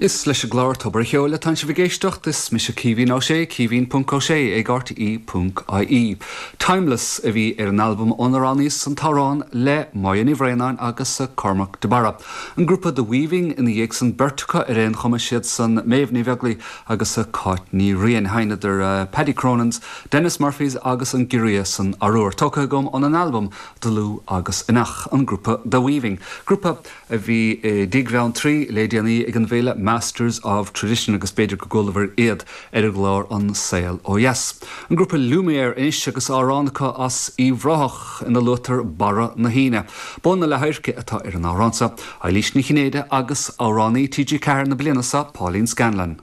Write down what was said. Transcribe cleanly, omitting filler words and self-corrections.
Is leis an gclár Tobar a' Cheoil atánn sibh ag éisteacht, is mise Caoimhín Ó Sé, caoimhín ponc ó sé ag rte ponc ie. Timeless a bhí ar an albam ónar roghnaíos an t-amhrán le Máire Ní Bhraonáin agus Cormac de Barra. An grúpa The Weaving ina dhiaidh san, beirt acu ar aon chuma, siad san Méabh Ní Bheaglaoi agus Cáit Ní Riain. Sheinneadar Paddy Cronin's, Denis Murphy's agus an Giorria san Arúr. Tógtha agam óna n-albam Dlúth agus Inneach, an grúpa The Weaving. Grúpa a bhí i dTigh Bheanntraí le déanaí ag an bhféile Masters of Tradition agus b'fhéidir go gcualabhair iad ar an gclár An Saol Ó Dheas. An grúpa Lumière anois agus amhrán acu as Uíbh Ráthach ina luaitear Barra na hAoine. Bó na Leathadhairce atá ar an amhrán seo. Eilís Ní Chinnéide agus amhránaí TG4 na bliana seo, Pauline Scanlon.